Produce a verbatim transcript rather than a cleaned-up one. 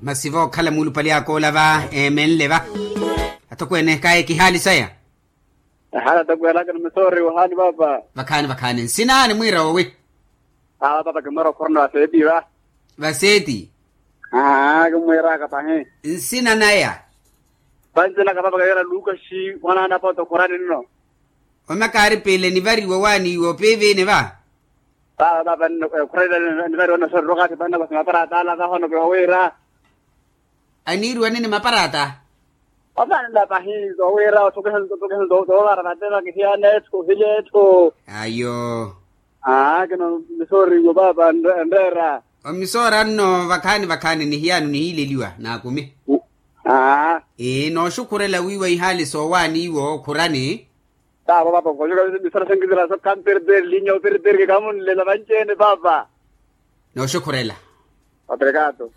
Masi vookhala muulupali akoola va eemenle va. Atokweene kaye kihaali saya. Ehaali atokweene akina misoori wahaali paapa. Vakhaani vakhaani nsina nimwiira wowi? Awa paapa kimwiira okhorona vaseeti va. Vaseeti. Aa kimwiiraka pahi. Nsina naya? Vancinaka paapa kayira lukaxi wanaana paapa okhorani nno. Omakaari piile nivariwa waaniiwa opiiviini va. Paapa paapa nno ekhurela nivariwa nno soriro kathi panna vasi maparata ala vahono kihowiira. Aniiriwa nini maparata? Ovaanela pahi zowiira othokeha othokeha zoovara vateva kihiyana etthu ohilya etthu. Ayo. Aa kino misooriiwo paapa nreera. Omisoora nno vakhaani vakhaani nihiyano nihiileliwa naakumi. Aa. Nooxukhurela wiiwa ihaali soowaaniiwo okhurani. Taavo paapa nkoxuka misala senkisela sokhamperperi linya operperi kikamunlela vanci-ene paapa. Nooxukhurela. Obrigado.